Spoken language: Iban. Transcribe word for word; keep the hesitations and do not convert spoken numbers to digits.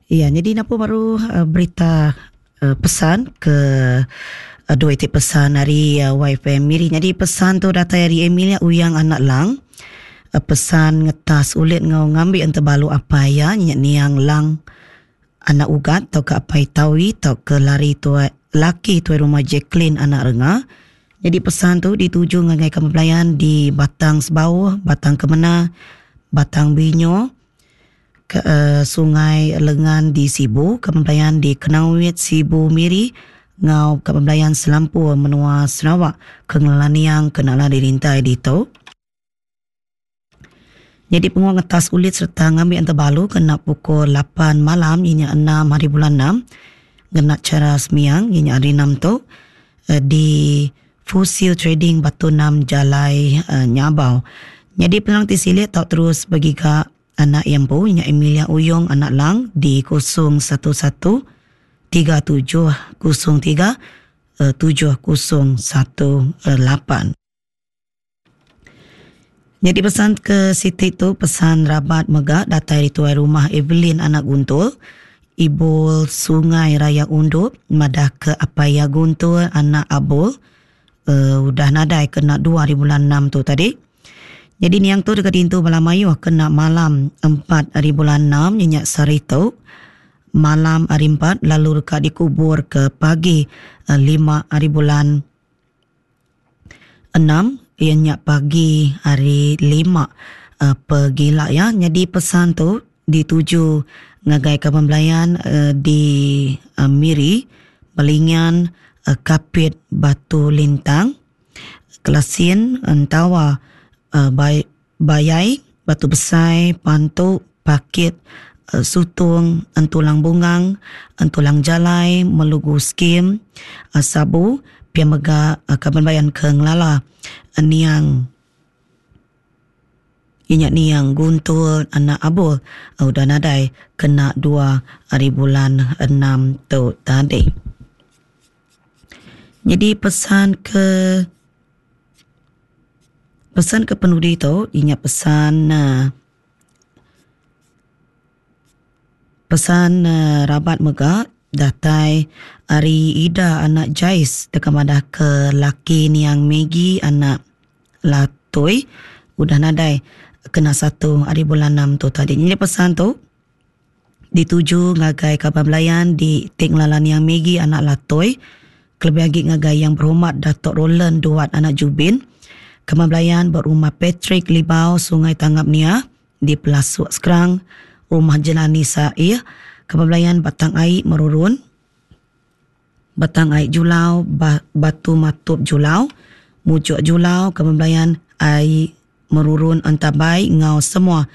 Iya, nyadi napu baru uh, berita uh, pesan ke uh, dua iti pesan ari uh, Y F M Miri. Nyadi pesan tu datai ari Emilia Uyang Anak Lang. Uh, pesan ngetas ulit ngau ngambi entebalu apai ya nya niang Lang Anak Ugat tau ke apai Tawi tau ke lari tuai laki tuai rumah Jacqueline Anak Renga. Jadi pesan tu dituju ngagai kaban belayan di Batang Sebauh, Batang Kemena, Batang Binyo, ke uh, Sungai Lengan di Sibu, kaban belayan di Kenawit, Sibu, Miri, ngau kaban belayan selampur menua Sarawak ke ngelala niang kena lah dirintai ditu. Jadi penguang ngetas ulit serta ngambil entebalu kena pukul lapan malam inya enam hari bulan enam ngena cara semiang inya hari enam tu uh, di Fusil Trading Batu enam Jalai uh, Nyabau. Jadi penerang ti silik tau terus bagi ke anak yang pu inya Emilia Uyong Anak Lang di kosong satu satu tiga tujuh kosong tiga tujuh kosong satu lapan. Jadi pesan ke siti tu pesan rabat mega datai di tuai rumah Evelyn Anak Guntul, Ibu Sungai Raya Undup, madah ke Apaya Guntul Anak Abul uh, udah nadai kena dua hari bulan enam tu tadi. Jadi niang tu dekat intu bala mayuh kena malam empat hari bulan enam nyenyak sehari tu. Malam hari empat lalu dekat dikubur ke pagi uh, lima hari bulan enam ianya pagi hari lima uh, pegila ya. Jadi pesan tu dituju ngagai kaban belayan uh, di uh, Miri, Balingian, uh, Kapit, Batu Lintang, Kelasin, Entawa, uh, Bayai, Batu Besai, Pantu, Pakit, uh, Sutung, Entulang Bungang, Entulang Jalai, Melugu Skim, uh, Sabu, pia mega uh, kaban belayan ke ngelala uh, niang Ingat niang Guntul Anak Abul uh, udah nadai kena dua hari bulan enam tu tadi. Jadi pesan ke pesan ke penudi tu ingat pesan uh, pesan uh, rabat mega datai ari Ida Anak Jais deka madah ke laki niang Maggie Anak Latoi udah nadai kena satu hari bulan enam tu tadi. Jadi pesan tu dituju ngagai kaban belayan di Tik Ngelalan yang Maggie Anak Latoi, kelebih lagi ngagai Yang Berhormat Datuk Roland Duat Anak Jubin, kaban belayan berumah Patrick Libau Sungai Tangap Nia di Pelasuk Sekerang, Rumah Jelani Sair, kaban belayan Batang Ai Merurun, Batang Ai Julau, Batu Matup Julau, Mujuk Julau, kaban belayan Ai Merurun Entabai ngau semua